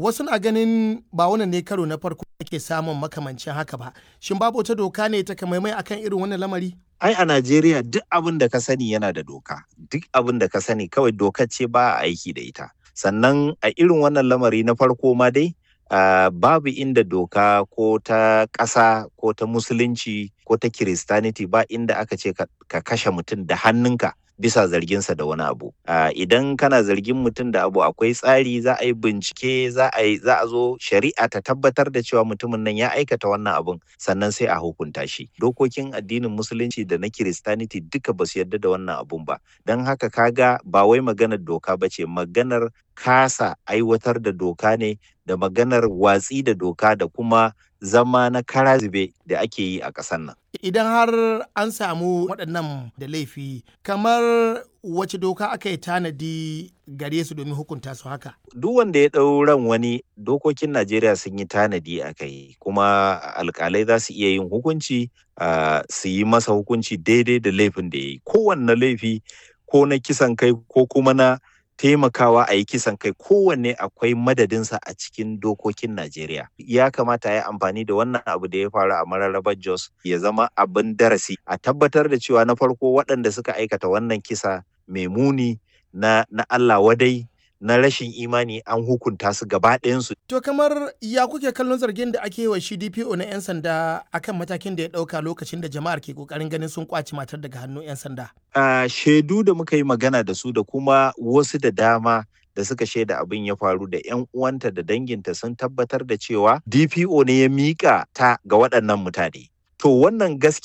Wasu na ganin ba wannan ne karo na farko ake samun makamancin haka ba. Shin babu wata doka ne ta kamaimai akan irin wannan lamari? Ai a Najeriya duk abin da ka sani yana da doka. Duk abin da ka sani kawai dokar ce ba a aiki da ita. Sannan a irin wannan lamari na farko ma dai babu inda doka ko ta ƙasa ko ta musulunci ko ta kiristaniti ba inda aka ce ka kashe mutum da hannunka bisa zarginsa da wani abu. Idan kana zargin mutum da abu, akwai tsari, za a yi bincike, za a zo shari'a ta tabbatar da cewa mutumin nan ya aikata wannan abun, sannan sai a hukunta shi. Dokokin addinin musulunci da na kiristaniti duka ba su yarda da wannan abun ba. Don haka kaga ba wai maganar doka ba ce, maganar kasa aiwatar da doka ne da maganar watsi da doka da kuma zama na kara zube da ake yi a ƙasar nan. Idan har an samu waɗannan da laifi, kamar wace doka aka yi tanadi gare su domin hukunta su haka? Duk wanda ya ɗau ran wani, dokokin Najeriya sun yi tanadi a kai, kuma alƙalai za su iya yin hukunci, su yi masa hukunci daidai da laifin da ya yi. Kowanne laifi, ko na kisan kai ko kuma na taimakawa a yi kisan kai, kowanne akwai madadinsa a cikin dokokin Najeriya. Ya kamata a yi amfani da wannan abu da ya faru a mararrabar Jos ya zama abin darasi. A tabbatar da cewa na farko waɗanda suka aikata wannan kisa mai muni na Allah wadai na rashin imani an hukunta su gaba ɗayansu. To kamar ya kuke kallon zargin da ake yi wa shi DPO na 'yan sanda akan matakin da ya ɗauka lokacin da jama'ar ke ƙoƙarin ganin sun ƙwace matar daga hannun 'yan sanda? Shaidu da muka yi magana da su da kuma wasu da dama da suka shaida abin ya faru da 'yan uwanta da danginta sun tabbatar da cewa DPO ne ya miƙa ta ga waɗannan mutane. To wannan gaskiya